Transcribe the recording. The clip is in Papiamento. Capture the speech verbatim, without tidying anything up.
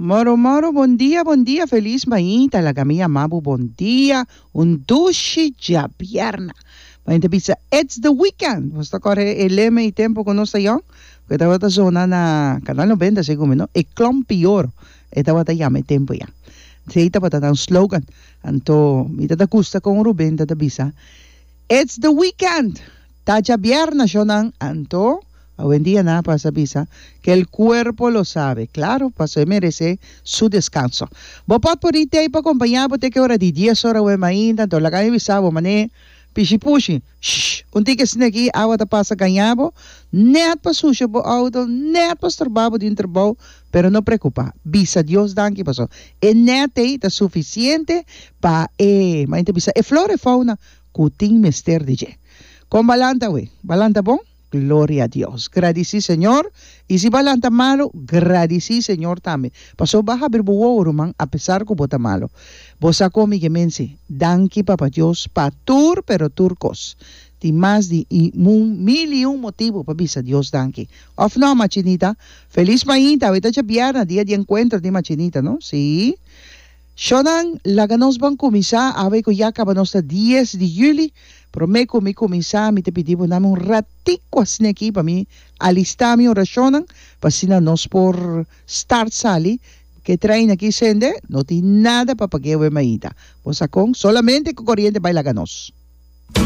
Moro moro, bon dia, bon dia, felis mainta, laga mi yama bo bon dia, un dushi djabièrna. Mainta bisa, "It's the weekend." Bo ta kòrda e lema e tempu ku nos ta yòn? Ku tabata zona na Canal noventa, segun mi, no? E Klomp'i Oro. E tabata yama e tempu ya. Esei tabata un slogan. Anto, mi ta gusta kon Ruben ta bisa, "It's the weekend." Ta djabièrna, shonnan. Anto, awendia nan a pasa bisa que el cuerpo lo sabe. Claro, paso e meresé su deskanso. Bo pot por tei pa kompañá bo te ku ora di dies or awe mainta, anto laga mi bisa bo mané pishi pushi. Shh, un tiki aki awa ta pasa gaña bo, net pa susha bo outo, net pa stroba bo den trabou, pero no preokupá. Bisa Dios danki paso. E net ei ta sufisiente pa e, ma bisa e flora e fauna ku tin mester di dje. Kon b'a lanta we, b'a lanta bon? Gloria a Dios. Gradisí Señor. I si b'a lanta malu, gradisí Señor tambe. Paso b'a habri bo wowo, ruman, apesar ku bo ta malu. Bo sa kon mi ke men si. Danki Papa Dios pa tur, pero tur kos. Tin mas di un mil i un motibu pa bisa Dios danki. Òf no, Machinita? Felis mainta, awe ta djabièrnè, dia di enkuentro di Machinita, no? Si. Shonnan, laga nos ban kuminsá, awe ku ya kaba nos ta dies di yüli, promé ku mi kuminsá, mi ta pidi bo un ratiku asina aki pa mi alistá mi orashon, pa asina nos por start sali, ku trein aki sende, no tin nada pa paga e mainta. Bo sa kon, solamente ku koriente bai laga nos.